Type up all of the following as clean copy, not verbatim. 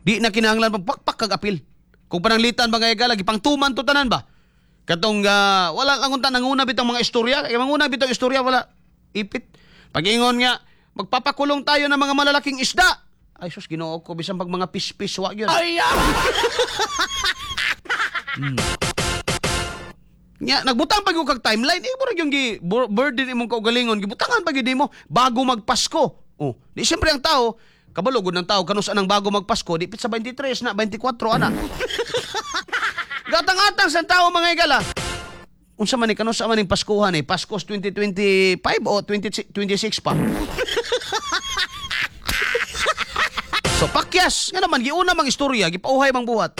Di na kinahanglan pagpakpak kag apil. Kung pananglitan, mga higala, gipangtuman to tanan ba? Katong wala lang unta nanguna bitong mga istorya, kay manguna bitong istorya wala ipit. Pag-ingon nga magpapakulong tayo ng mga malalaking isda. Ay sus, Ginoo ko, bisan pag mga pispis wa gyud. Ay! Nya nagbutang pa gyud kag timeline, eh murag yung gi burden imong kaugalingon, gibutangan pa gyud nimo bago magpasko. Oh, di siyempre ang tao kabalo gud ng tao kanus anang bago magpasko, di pit sa 23 na 24 ana. Gatang-atang sa tao, mga higala. Unsa man ni kanus man ning Paskuhan eh? Pasko 2025 o 2026 pa? So pakyas nga naman giuna mang istorya, gipauhay mang buhat.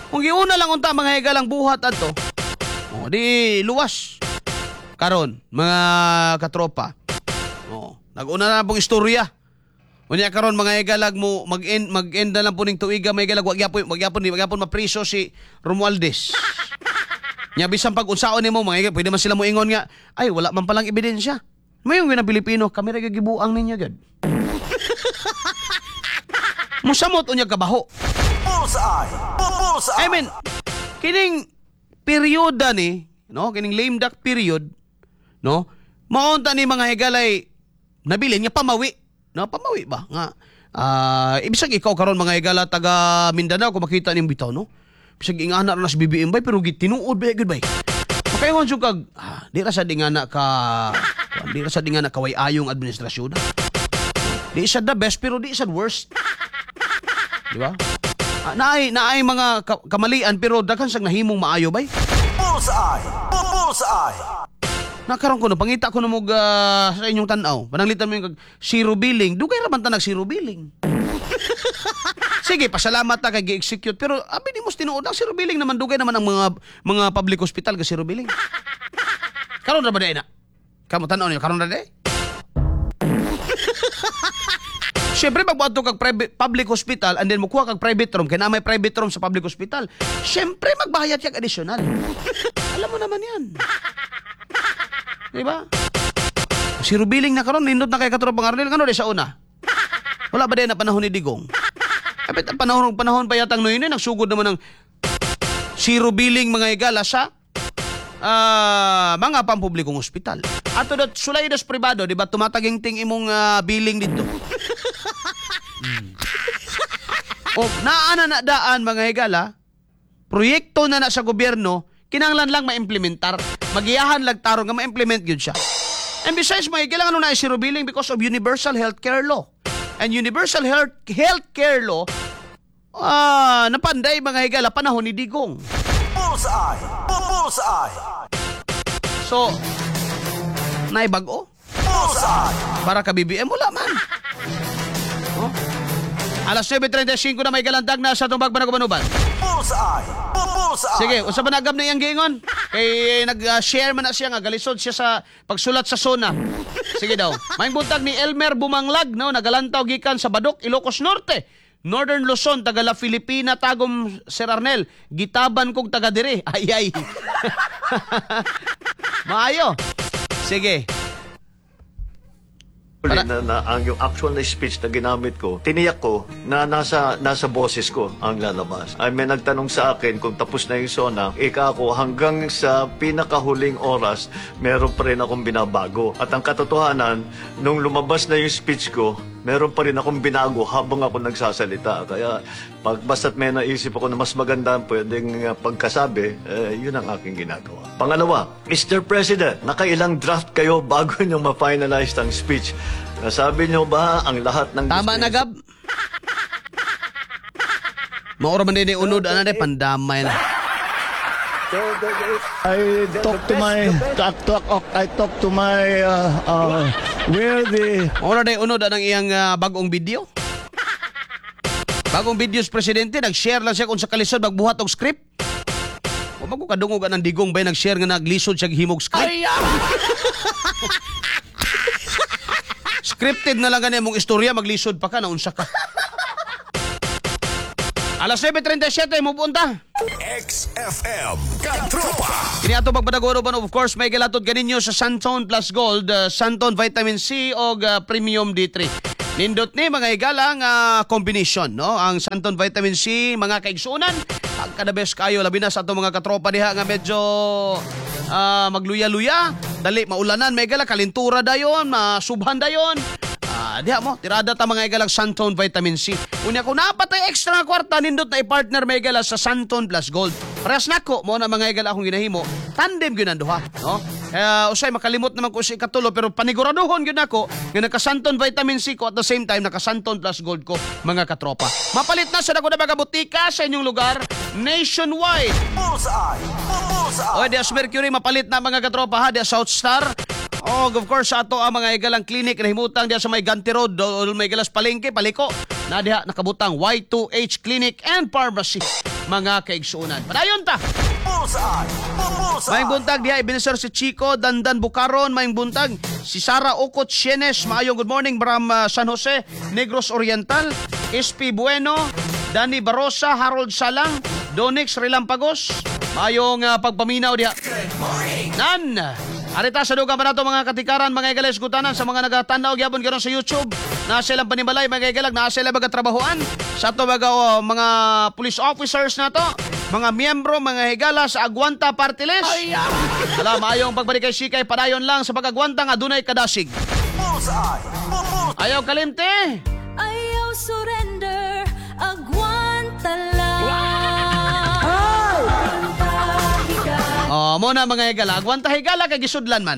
Kung giuna lang unta, mga higalang, buhat adto. Oh, di luwas. Karon, mga katropa. Oh, nag-una na pong istorya. Unya karon, mga higalag, mo mag-end na lang po ning tuiga, mga higalag, wag gyapon di wag gyapon mapriso si Romualdez. Nya bisan pag unsaon nimo, mga higalag, pwede man sila moingon nga ay wala man palang ebidensya. Mayon gyud ang Pilipino, kami ra gyud gibuang ninyo gyud. Musamot unya kabaho. Bullseye! Bullseye! I mean, kining perioda ni, no, kining lame duck period, no, maunta ni, mga higalay, nabilin nga pamawi, no, pamawi ba nga ibisag ikaw karon, mga higala, taga Mindanao, kung makita nimo bitaw, no, bisag ingana ra na si BBM bay, pero gitinuod ba gyud bay, makaingon jud kag di ra sad ingana kaway ayong administrasyon. Di sad the best pero di sad worst, di ba? Naay mga kamalian pero daghan sang nahimong maayo bay. Bullseye! Bullseye! Nakaroon ko no, pangita ko na mo sa inyong tanaw. Pananglitan mo yung kag zero billing. Dugay ra man ta nag zero billing. Sige, pasalamat ta kay gi-execute pero abi ni mo tinuod ang zero billing naman, dugay naman ang mga public hospital ga zero billing. Karon ra ba diay na? Kamo tan-aw niyo karon ra diay? Siyempre, pag moadto kag private, public hospital and then mukuha kag private room, kay naa may private room sa public hospital, siyempre, magbayad kag additional. Alam mo naman yan. Di ba? Zero billing na karon, nindot na kay katropang Arnel, ngano di sa una? Wala ba din na panahon ni Digong? Kapit ang panahon panahon pa yatang noy nagsugod naman ng zero billing, mga higala, sa mga pampublikong ospital. Ato dot sulay dos pribado, di ba tumataginting imong billing dito? O naa na na daan, mga higala, proyekto na na sa gobyerno, kinahanglan lang ma-implementar. Magiyahan lag tarong nga ma-implement gyud siya. And besides, mga higala, ano na zero billing because of Universal Healthcare Law. And Universal Healthcare Law, napanday, mga higala, panahon ni Digong. Bullseye! Bullseye! So, naibag-o. Bullseye! Para ka BBM, wala man. Oh. Alas 9:35 na may galandag na sa tumbag panagubanuban. Bullseye! Bullseye! Sige, unsa ba nagab na iyang giingon? Kay nag-share man na siya nga galisod siya sa pagsulat sa SONA. Sige daw. Maayong buntag ni Elmer Bumanglag, no, nagalantaw gikan sa Badok, Ilocos Norte. Northern Luzon, taga La Filipina, Tagum, Sir Arnel. Gitaban kog taga dire. Ay ay. Maayo. Sige. Na ang yung actual na speech na ginamit ko, tiniyak ko na nasa boses ko ang lalabas. Ay may nagtanong sa akin kung tapos na yung SONA, ika ako hanggang sa pinakahuling oras, meron pa rin akong binabago. At ang katotohanan, nung lumabas na yung speech ko, meron pa rin akong binago habang ako nagsasalita. Kaya pag basta't may naisip ako na mas maganda ang pwedeng pagkasabi, eh, yun ang aking ginagawa. Pangalawa, Mr. President, nakailang draft kayo bago nyo ma-finalize ang speech? Nasabi nyo ba ang lahat ng Tama na, Gab. Maura man din unod ana de pandamay na. I talk to my talk, talk, I talk to my where the Maura day unod anang iyang bagong video. Bagong videos presidente, nag-share lang siya kung sa kalisod magbuhat og script. Wa man ko kadungog anang Digong bay nag-share nga naglisod siya himog script. Scripted na lang gani mong istorya, maglisod pa ka na unsa ka. Alas 9:37 mo punta. XFM Katropa. Kini ato pagpadagono, of course may galatod kaninyo sa Santon Plus Gold, Santon Vitamin C og Premium D3. Nindot ni mga higala ang combination, no? Ang Santon Vitamin C, mga kaigsunan, pagka the best kayo, labi na sa atong mga katropa diha nga medyo magluya-luya, dali maulanan, may higala, kalintura dayon, masubhan dayon. Diha mo, tirada ta mga higalang Santon Vitamin C. Unya kung napatay extra nga kwarta, nindot na i-partner mga higala sa Santon Plus Gold. Parehas nako mo na mga higala akong ginahimo, tandem gyud ang duha, no? Kaya usay makalimot naman ko sa ikatulo, pero paniguraduhon gyud nako nga naka-Santon Vitamin C ko at the same time naka-Santon Plus Gold ko, mga katropa. Mapalit na sa dako na mga butika sa inyong lugar nationwide. Bullseye! Bullseye! Oy, diya sa Mercury mapalit na mga katropa ha, diya South Star. Oh, of course sa ato ang mga higalang clinic na himutang diya sa may Ganti Road o may higalas palengke, paliko. Na diha nakabutang Y2H Clinic and Pharmacy, mga kaigsuonan. Padayon ta. Bullseye! Bullseye! Maayong buntag diha Ebenezer si Chico Dandan Bucaron, maayong buntag si Sara Okot Sienes, maayong good morning from San Jose, Negros Oriental, SP Bueno, Danny Barosa, Harold Salang, Donix Relampagos, maayong pagpaminaw diha. Nan! Arita sa dugang pa nato mga katikaran, mga igala esgutanan sa mga nagatanaw gyapon karon sa YouTube. Naa silang panimalay mga igalag, naa sila mga trabahoan sa ato mga, oh, mga police officers nato, mga miyembro, mga higala sa Agwanta Party List. Ala, maayong pagbalik kay Sikay, padayon lang sa pag-agwanta nga adunay kadasig. Bullseye! Bullseye! Ayaw kalimte! Ayaw surrender, agwanta lang. Oh, mo na mga higala, agwanta higala kay gisudlan man.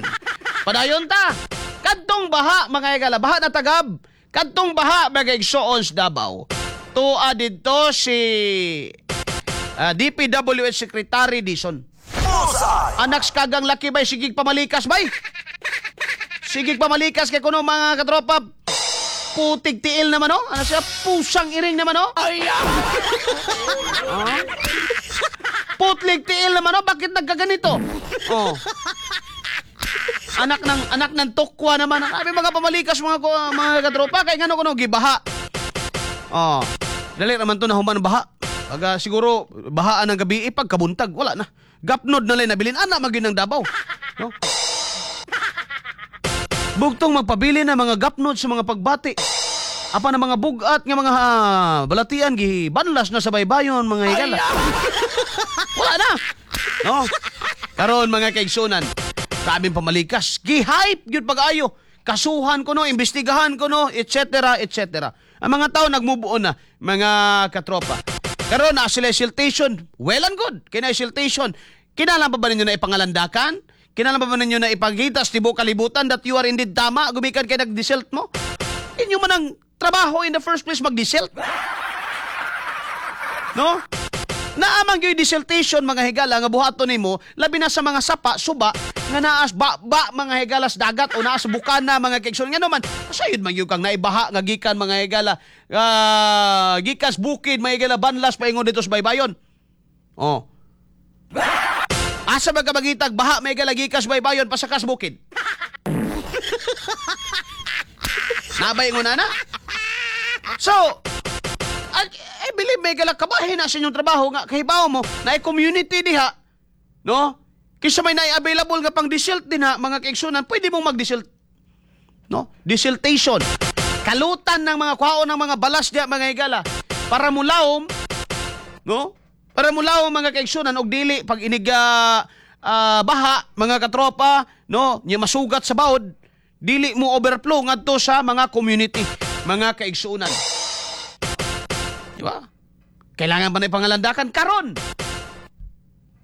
Padayon ta. Kadtong baha mga higala, baha na tagab. Kadtong baha mga igsoon sa Davao. Tua didto si DPWH Secretary Dison. Bullseye! Anak sa kagang laki bay, sigig pamalikas bay. Sigig pamalikas kay kuno mga katropa. Putig tiil naman oh. Ano siya? Pusang iring naman oh. Ay! Putlig tiil naman oh. Bakit nagkaganito? Oh. Anak ng tokwa naman. Sabi mga pamalikas mga mga katropa kay ngano kuno gibaha. Oh. Dali raman to na human baha. Pag siguro bahaan ng gabi eh, pagkabuntag wala na. Gapnod na lang nabilin ana magyud ng Davao. No? Bugtong magpabili na mga gapnod sa mga pagbati. Apa na mga bugat nga mga balatian gibanlas na sa baybayon mga higala. Wala na. No? Karon mga kaigsunan, grabing pamalikas. Gi-hype gyud pag-ayo. Kasuhan ko no, imbestigahan ko no, etc. etc. Ang mga tao nagmove on na, mga katropa. Karon na sila siltation, well and good. Kina siltation. Kinahanglan pa ba ninyo na ipangalandakan? Kinahanglan pa ba ninyo na ipagita sa tibuok kalibutan that you are indeed tama gumikan kay nag-desilt mo? Inyo man ang trabaho in the first place mag-desilt. No? Naamang gyud desiltation mga higala nga buhaton nimo labi na sa mga sapa, suba nga naas ba, ba mga higala sa dagat o naas bukana mga kaigsoon. Ngano man sayod man gyud kang naibaha nga gikan mga higala, gikas bukid mga higala banlas paingon dito sa baybayon. Oh. Asa ba ka magitag baha mga higala gikas baybayon pasakas bukid? Nabay mo na na. So, I believe may galak kabahin na sa inyong trabaho nga kahibaw mo na community diha, no? Kaysa may na-available nga pang desilt din ha, mga kaigsunan, pwede mong mag-desilt. No? Desiltation. Kalutan ng mga kwaon ng mga balas diha mga higala para mulawom, no? Para mulawom mga kaigsunan og dili pag inig baha mga katropa, no? Nya masugat sa baod, dili mo overflow ngadto sa mga community, mga kaigsunan. Di ba? Kailangan pa na ipangalandakan karon.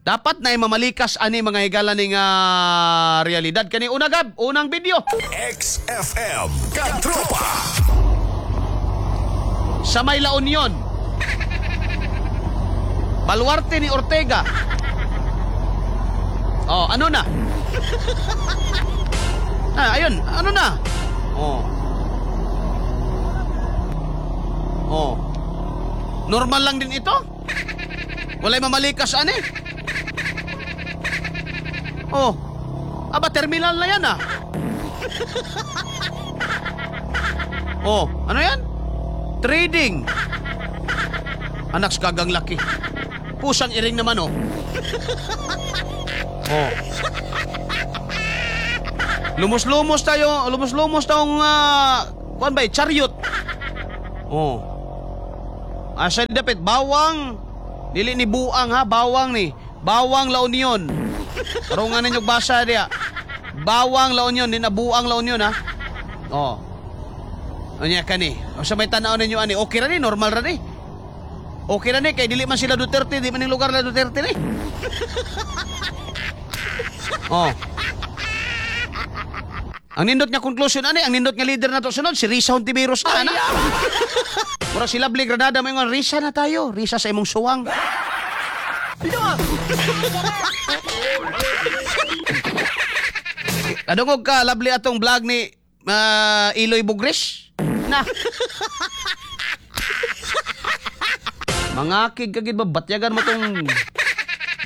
Dapat na imamalikas ani mga higala ning realidad kani una gab, unang video. XFM Katropa! Sa may La Union. Baluarte ni Ortega. Oh, ano na? Ayun, ano na? Oh. Oh. Normal lang din ito? Walay mamalikas ani. Oh. Aba, terminal na yan ah. Oh, ano yan? Trading. Anak sa kagang laki. Pusang iring naman oh. Oh. Lumos-lumos tayo, lumos-lumos tayong kuan ba, chariot. Oh. Asa ni dapit bawang dili ni buang ha, bawang ni. Bawang La Union. Tarungan ninyo basa diya. Bawang La Union, di na buang La Union ha. Oh. Unya kani. Sa may tan-aw ninyo ani, okay ra ni, normal ra ni. Okay ra ni kay dili man sila Duterte, di man ning lugar na Duterte ni. Oh. Ang nindot nga conclusion ani, ang nindot nga leader na to sunod si Risa Hontiveros na ana. Mura sila Lovely Granada mo ingon, Risa na tayo, Risa sa imong suwang. Kadungog ka, lovely atong vlog ni Iloy Bugris. Na. Mangakig ka gid ba batyagan mo tong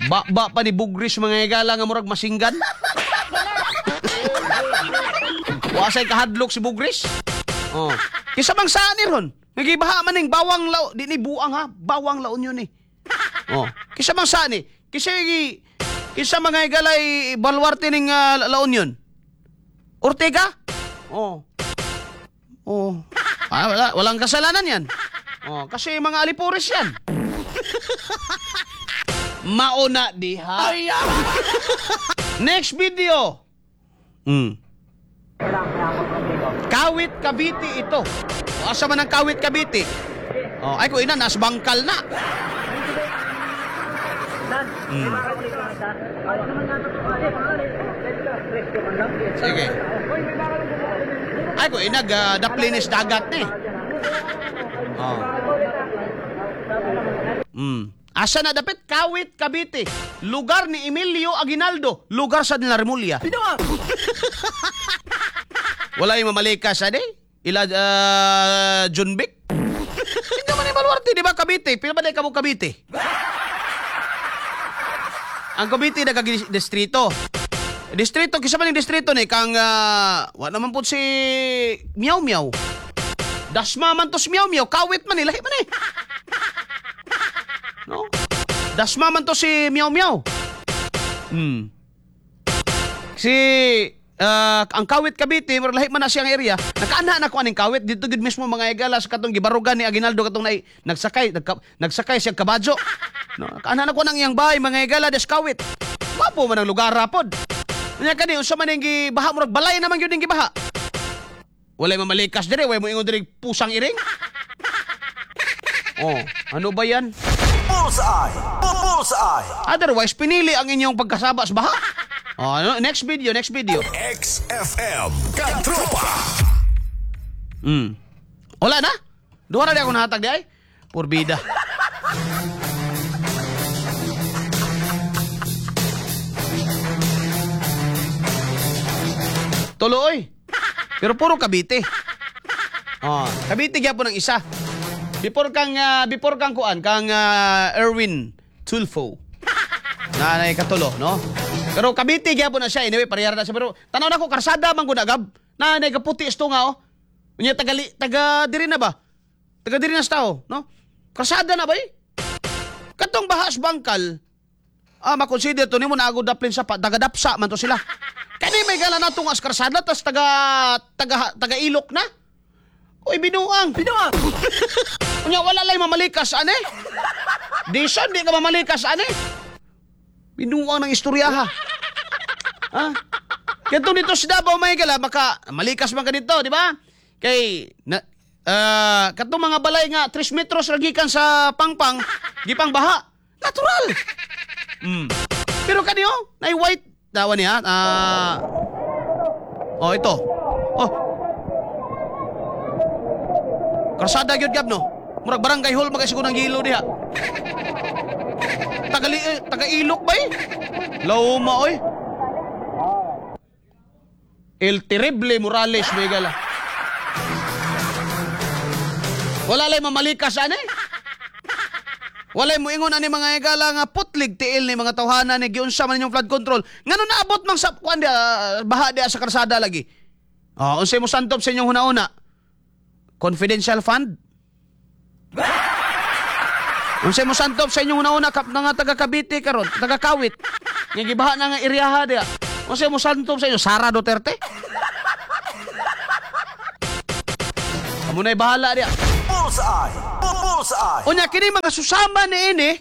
ba-ba pa ni Bugris mga higala nga murag masinggan. Wasay kahadlok si Bugris. Oh. Kisa bang saan ni ron? Nagibaha man ning bawang lao, di ni buang ha, bawang laon yun eh. Oh. Kisa bang saan ni? Kisa kisa mga higalay baluarte ning La Union. Ortega? Oh. Oh. Ah, wala, walang kasalanan yan. Oh, kasi mga alipores yan. Mauna diha. Next video. Kawit Cavite ito. O, asa man ang Kawit Cavite? Oh, ay ko ina nas bangkal na. Sige. Ay ko ina daplinis dagat ni. Oh. Asa na dapit? Kawit Cavite. Lugar ni Emilio Aguinaldo, lugar sa Remulla. Wala yung mamalikas, ade? Ila Junbic? Hindi man yung baluarte, di ba Cavite? Pila ba na ikaw Cavite? Ang Cavite nagka-distrito. Distrito, kisa man yung distrito ni kang wa naman po si Miao Miao. Dasma man to si Miao Miao, Kawit man eh, lahi man eh. No? Dasma man to si Miao Miao. Si ang Kawit Cavite, murag lahi man na siyang area. Nakaana na ko aning Kawit dito gid mismo mga higala sa katong gibarugan ni Aguinaldo katong nagsakay nagsakay siya kabadyo. No, nakaana na ko nang iyang bahay mga higala des Kawit. Wapo man ang lugar rapod. Unya kani unsa man ning gibaha murag balay naman gyud ning gibaha. Walay mamalikas dire, way mo ingon dire pusang iring. Oh, ano ba yan? Bullseye! Bullseye! Otherwise, pinili ang inyong pagkasaba sa baha. Oh, ano? Next video, next video. XFM Katropa. Wala na? Duha na di ako nahatag di ay. Purbida. Tuloy. Pero puro Cavite. Oh, Cavite gyapon ang isa. Before kang kuan, kang Erwin Tulfo. Na katulo, no? Pero Cavite gyapon na siya, anyway, parehara na siya. Pero tanaw na ko karsada man gud agab. Na kaputi isto nga oh. Unya taga diri na ba? Taga diri na sa tao, no? Karsada na ba eh? Katong bahas bangkal. Ah, makonsider to nimo na agud daplin sa taga dapsa man to sila. Kani may gala na tungas karsada tas taga ilok na. Oy, binuang. Binuang. Unya wala lay mamalikas ane. Dison di ka mamalikas ane. Binuang ng istorya ha. Ha? Kadto dito sa Davao may gala maka malikas man ka dito, di ba? Kay na, katong mga balay nga 3 metros ra gikan sa pangpang, gipang baha. Natural. Pero kaniyo, nay white dawa niya. Oh, ito. Oh. Karsada gyud gab no. Murag barangay hall magay siguro ng gilo diha. Taga ilok bay. Lauma oy. El Terrible Morales may gala. Wala lay mamalikas ani. Walay mo ingon ani mga higala nga putlig tiil ni mga tawhana ni giunsa man inyong flood control. Ngano naabot mang sa kuan dia baha dia sa karsada lagi. Oh, unsay mo santop sa inyong huna-huna? Confidential fund? Unsay mo santop sa inyong huna-huna kap nga taga Cavite karon, taga Kawit. Nga gibaha na nga iryaha dia. Unsay mo santop sa inyo Sara Duterte? Amo nay bahala dia. Bullseye. Bullseye. Unya kini mga susama ni ini,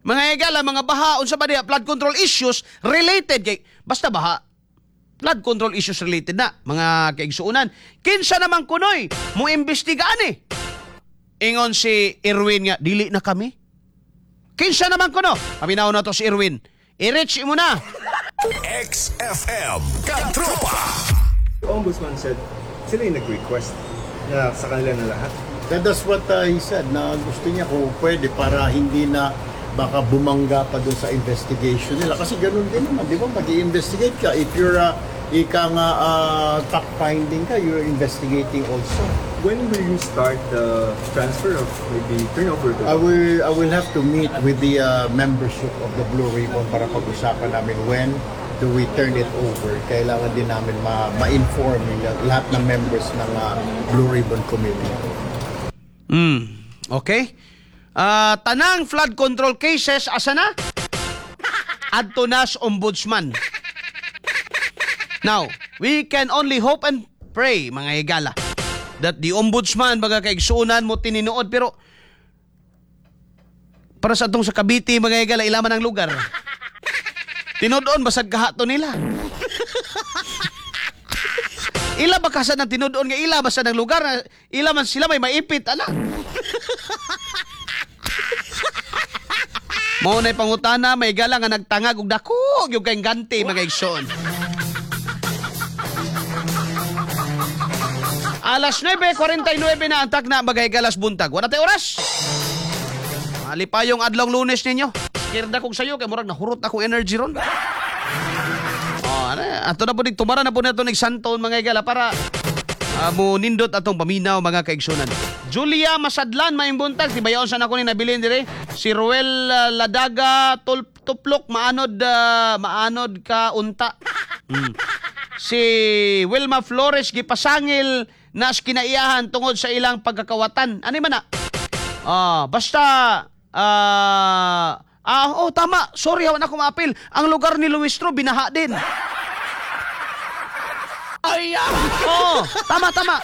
mga higala, mga baha, unsa ba diha, flood control issues related kay basta baha. Flood control issues related na, mga kaigsuonan. Kinsa naman kunoy mo imbestigaan eh. Ingon si Erwin nga dili na kami. Kinsa naman kuno? Paminaw na to si Erwin. I-reach mo na. XFM. Katropa. The ombudsman said sila yung nag-request na sa kanila na lahat. That's what he said, na gusto niya kung pwede para hindi na baka bumangga pa dun sa investigation nila. Kasi ganun din naman, di ba? Mag investigate ka. If you're, ika nga fact finding ka, you're investigating also. When will you start the transfer of maybe turnover to I will have to meet with the membership of the Blue Ribbon para pag-usapan namin when do we turn it over. Kailangan din namin ma-inform yung lahat ng members ng Blue Ribbon Committee. Okay? Ah, tanang flood control cases asa na? Adto na sa ombudsman. Now, we can only hope and pray, mga higala, that the ombudsman, mga kaigsuonan mo tininuod, pero para sa atong sa Cavite, mga higala, ilaman ang lugar. Tinuod basag kahato nila. Ila ba kasa ng tinuod nga ila basta ng lugar na ila man sila may maipit ala. Mao na'y pangutana may gala nga nagtangag og dako gyud kay ganti, mga igsoon. Alas 9:49 na ang takna, mga higalas buntag. Wala tay oras. Malipayong adlong Lunes ninyo. Kirda kog sayo kay murag nahurot akong energy ron. Oh, ano, ato na po ning tumara na po nato ning santon, mga higala, para mo nindot atong paminaw, mga kaigsunan. Julia Masadlan, maayong buntag, tibayon sa nako ni nabilin dire. Si Ruel Ladaga Tuplok, maanod maanod ka unta. Si Wilma Flores, gipasangil na sa kinaiyahan tungod sa ilang pagkakawatan. Ano man na? Ah, basta oh, tama. Sorry, hawan ako maapil. Ang lugar ni Luistro binaha din. Ay, oh, tama, tama.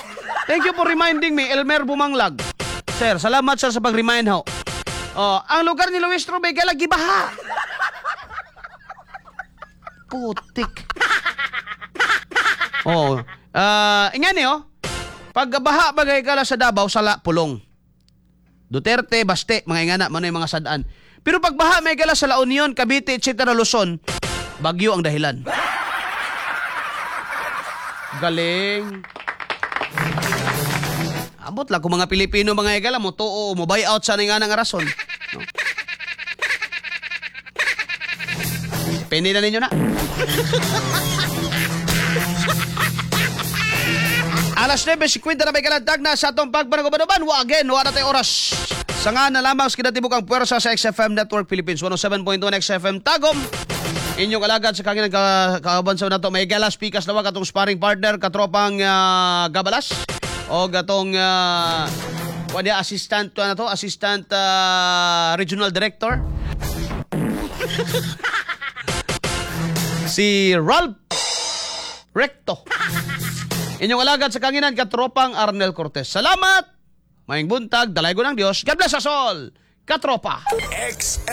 Thank you for reminding me, Elmer Bumanglag. Sir, salamat sir sa pag-remind ho. Oh, ang lugar ni Luistro may lagi baha. Putik. Oh, ingani oh. Pag baha bagay kala sa Davao, sala pulong. Duterte, Baste, mga ingana, mano yung mga sadaan. Pero pag baha may kala sa La Union, Cavite, etc. Luzon, bagyo ang dahilan. Galing. Ambot lang kung mga Pilipino, mga higala mo tuo mo buy out sa nga nga rason. No? Pwede na ninyo na. Alas 9:50 na may kalantag na sa atong pagpanagubanuban. Wa again, wa na tayo oras. Sa nga na lamang sa kinatibuk ang puwersa sa XFM Network Philippines, 107.1 XFM Tagum. Inyong alagad sa kanginan ka kauban sa nato may galas pikas lawag atong sparring partner katropang Gabalas o atong wala assistant to ano to assistant regional director si Ralph Recto. Inyong alagad sa kanginan katropang Arnel Cortez. Salamat! Maayong buntag, dalaygon ng Diyos. God bless us all! Katropa! X